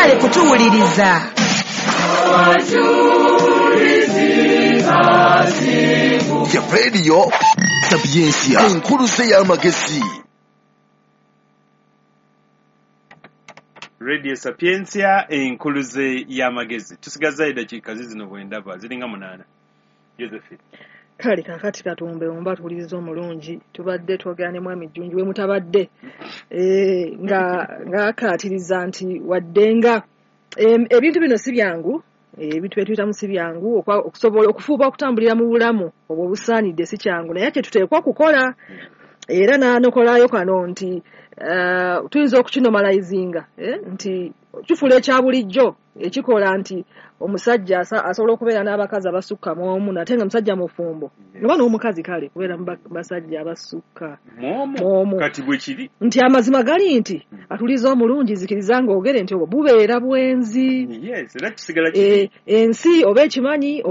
Mwebale kutuwuliriza. Ya Radio Sapientia, enkuluze y'amagezi. Radio Sapientia, enkuluze y'amagezi. Tusigazayo eddakiika zizino bwe ndaba ziringa 8. Josephine. Kale kaakati katumbe omba tuwuliriza omulungi, tubadde twogera ne Mwami Jjunju we mutabadde ng'akaatiriza nti wadde nga ebintu bino si byangu, ebintu bye tuyitamu si byangu, okusobola okufuuba okutambulira mu bulamu obwo obusaanidde si kyangu, naye kye tuteekwa okukola. Era n'anokolayo kano nti tuyinza okukinomalizinga nti kifuula ekya bulijjo ekikola nti omusajja asobola okubeera n'abakazi abasukka mu omu, nate nga musajja mufumbo oba n'omukazi, kale kubeera mu basajja abasukka mu omu. Kati bwe kiri nti amazima gali nti atuliza omulungi zikiriza ng'ogere nti obwo bubeera bwenzi. Yes, era kisigala kiri. Ensi oba ekimanyi oba